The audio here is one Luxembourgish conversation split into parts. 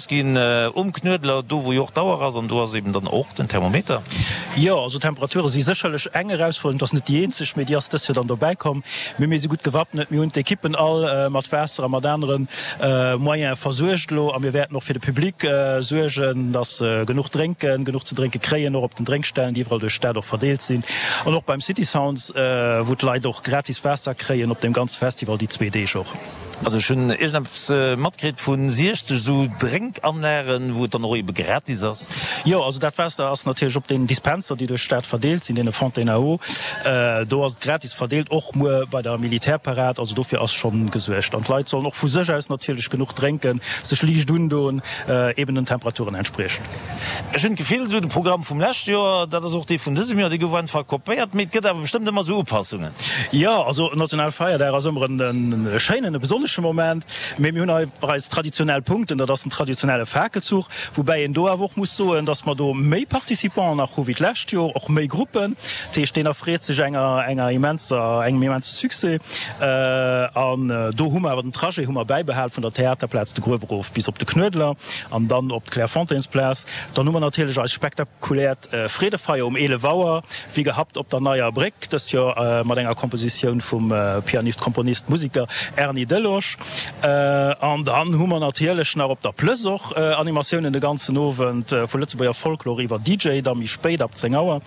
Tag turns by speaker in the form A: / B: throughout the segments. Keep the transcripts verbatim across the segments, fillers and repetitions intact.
A: Ginn um Knuedler, do wou jo och d'Auer ass, an do ass eben dann och den Thermometer.
B: Jo, also d'Temperature si sécherlech eng Erausfuerderung, et ass net déi eenzeg, mee déi ass dës Joer dann dobäi komm. Mee mir si gutt gewappnet, mir hunn d'Ekippen all mat Waasser a mat anere Moyene versuergt elo a mir wäerten och fir de Public suergen, dass se genuch drénken, genuch ze drénke kréien, och op den Drénkstellen, déi iwwerall duerch d'Stad och verdeelt sinn an och beim City Sounds, wou d'Leit och gratis Waasser kréien op deem ganze Festival déi zwee Deeg och.
A: Also ech hunn iergendeppes matkritt vu siechzeg esou Drénkanlagen, wou et dann och ebe gratis ass.
B: Jo, also dat Waasser ass natierlech op deenen Dispenser, déi duerch d'Stad verdeelt sinn, deene Fontaines à eau, do ass et gratis verdeelt, och muer bei der Militärparad. Also dofir ass schonn gesuergt. An d'Leit sollen och vu sech aus natierlech genuch drénken, sech liicht undoen, eben den Temperaturen entspriechend.
A: Ech hunn d'Gefill, esou de Programm vum leschte Joer, dat ass och dee vun dësem Joer, dee gouf einfach kopéiert, mee et gëtt awer bestëmmt ëmmer esou Upassungen.
B: Jo, also Nationalfeierdag ass ëmmer en schéinen, e besonnesche Moment, mee mir hunn einfach eis traditionell Punkten, dat ass den traditionelle Fakelzuch, woubäi een do awer och muss soen, dass mer do méi Participanten nach hu wéi d'lescht Joer, och méi Gruppen. Dat heescht, deen erfreet sech enger enger immenser, engem immense Succès. An do hu mer awer den Trajet hu mer bäibehal vun der Theaterplaz de Gruef erof bis op de Knuedler an dann op d'Clairefontainesplaz. Dann hu mer natierlech eist spektakuläert Freedefeier um eelef Auer, wéi gehabt op der Neier Bréck, dëst Joer mat enger Kompositioun vum Pianist, Komponist, Musiker Erny Delosch. An dann hu mer natierlech nach op der Plëss och Animatiounen de ganzen Owend, vu Lëtzebuerger Folklor iwwer D J, da méi spéit ab zéng Auer.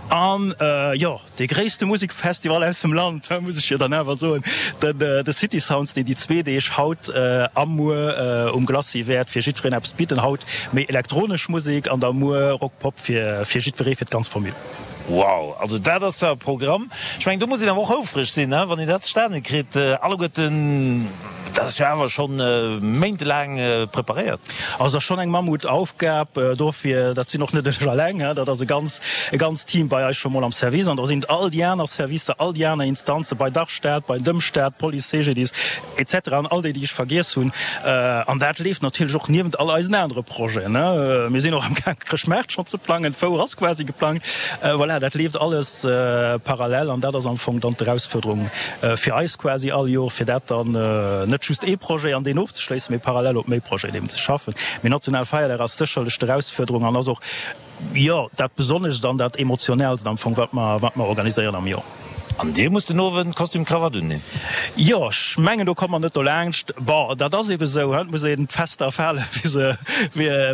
B: An jo, dee gréisste Musekfestival aus dem Land, muss ech jo dann awer soen, den de City Sounds, deen déi zwee Deeg haut a muer um Glacis wäert fir jiddwereen eppes bidden. Haut méi elektronesch Musek an da muer Rock, Pop fir fir jiddweree, fir d'ganz Famill.
A: Wow, also dat ass zwar e Programm. Ech mengen, do muss een awer och houfreg sinn, wann een dat zustane kritt. Alleguerten, dat ass jo awer schonn méintelaang preparéiert.
B: Also dat ass schonn eng Mammutaufgab. Dofir, dat sinn och net ech alleng, dat ass e ganz e ganzt Team bei eis scho mol am Service an da sinn et all déi aner Servicer, all déi aner Instanze bei der Stad, bei dem Staat, Police, C G D I S et cetera an all déi, déi ech vergiess hunn. An dat leeft natierlech och niewent all eisen anere Projeten. Mir sinn och amgaang Chrëschtmaart schonn ze plangen, d'Fouer ass quasi geplangt. Voilà, dat leeft alles parallel an dat ass am Fong dann d'Erausfuerderung fir eis quasi all Joer, fir dat dann net just ee Projet an deen ofzeschléissen, mee parallel op méi Projeten eben ze schaffen. Mee Nationalfeierdag ass sécherlech d'Erausfuerderung an ass och, jo, dat Besonnescht an dat Emotionellst am Fong, wat mer, wat mer organiséieren am Joer.
A: An Dir musst den Owend Kostüm, Krawatt unhinn?
B: Jo, ech mengen, do komme mer net dolaanscht. Bon, dat ass ebe sou, et muss een d'Fester fale wéi se,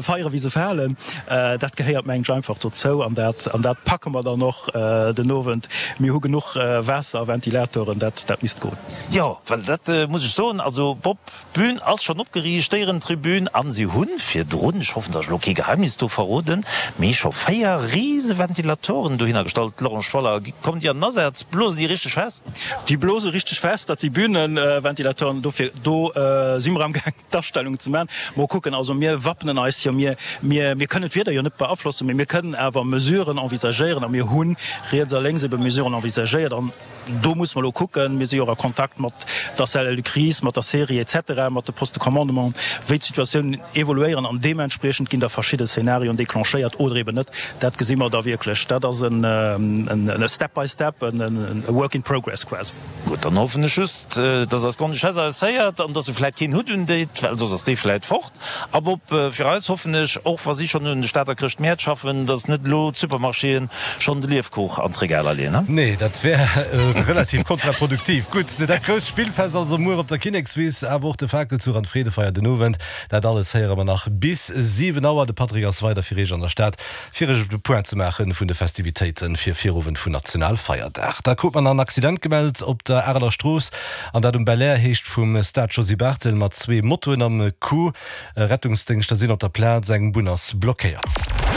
B: feiere wéi se falen. Dat gehéiert, mengen ech, einfach dozou an dat, an dat packe mer dann och den Owend. Mir hu genuch Waasser a Ventilatoren, dat, dat misst goen.
A: Jo, well dat muss ech soen, also Bob, d'Bün ass schonn opgeriicht, d'Éierentribün, an si hunn virdrun, ech hoffen, datt ech elo kee Geheimnis do verroden, mee scho véier Riseventilatoren dohinner gestallt. Laurent Schwaller, kommen déi an den Asaz? Blosen déi richteg fest?
B: Déi blose richteg fest, dat si Bühnenventilatoren, dofir do si mer amgaang d'Astellung ze man. Mol kucken, also mir wappnen eis jo, mir, mir, mir kënnen d'Wieder jo net beaflossen, mee mir kënnen awer Mesuren envisagéieren a mir hu riets a lénks ebe Mesuren envisagéiert an do muss mer elo kucken, mir si jo och a Kontakt mat der Cellule de crise, mat der Série et cetera, mat de Postes de commandement, wéi d'Situatiounen evoluéieren an deementspriechend ginn da verschidde Szenarioen déclenchéiert oder eben net. Dat gesi mer da wierklech. Dat ass en step by step, en work in progress quasi.
A: Gutt, dann hoffen ech just, dass eis Grande-Duchesse eis héiert an dass se vläit keen Hutt undeet, well soss ass dee vläit fort. A Bob, fir eis hoffen ech, och wa si schonn un de Stater Chrëschtmäert schaffen, dass net elo d'Supermarchéen schonn de Liefkuch an d'Regaler leeën.
C: Nee, dat wär relativ kontraproduktiv. Gutt, dat grousst Spillfest also muer op der Kinnekswiss, awer och de Fakelzuch an d'Freedefeier den Owend, dat alles héiere mer nach bis siwen Auer. De Patrick ass weider fir Iech an der Stad, fir Iech de Point ze maache vun de Festivitéite fir Virowend vun Nationalfeierdag. Da krut mer nach en Accident gemellt op der Areler Strooss, an dat um Belair, heescht vum Stade Josy Barthel, mat zwee Motoen am Coup. Rettungsdéngschter sinn op der Plaz, eng Bunn ass blockéiert.